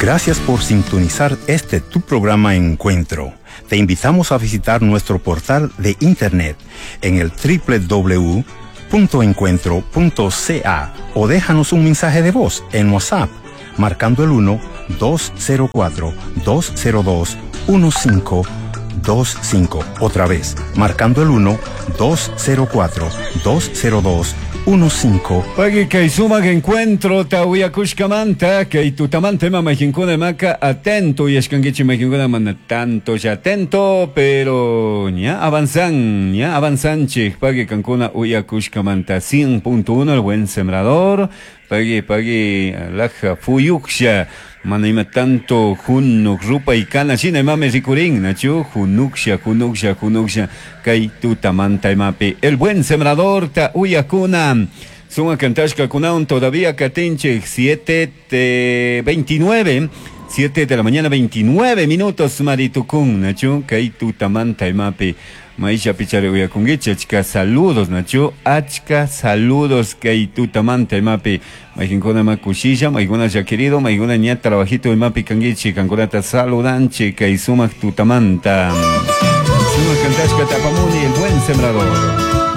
Gracias por sintonizar este tu programa Encuentro. Te invitamos a visitar nuestro portal de internet en el www.encuentro.ca o déjanos un mensaje de voz en WhatsApp marcando el 1 204 202 1525. Otra vez, marcando el 1 204 202 15 Pagui kay sumak encuentro ta uyakushkamanta kay tutamanta ima mayqinkuna imaka atento uyashkankichik mayqinkuna mana tanto ya atento pero ña avanzan ña avanzanchik pagui kankuna uyakushkamanta 100.1 el buen sembrador pagui pagui laja fuyuksha mana ima tanto junuk rupay kana shina imami rikurin nachu junuksha junuksha junuksha kay tutamanta imapi el buen sembrador ta uyakuna Suma kantashkakunawan todavía katinchik 7 29 7 de la mañana 29 minutos maritukun nachu kay tutamanta imapi mayllapi chari uyakunkichik achka saludos nachu achka saludos kay tutamanta imapi mayqinkuna ima kushilla maykuna ya querido maykuna ña trabajito imapi kankichik kankunata saludanchik kay sumak tutamanta sumak kantashka tapamuni el buen sembrador.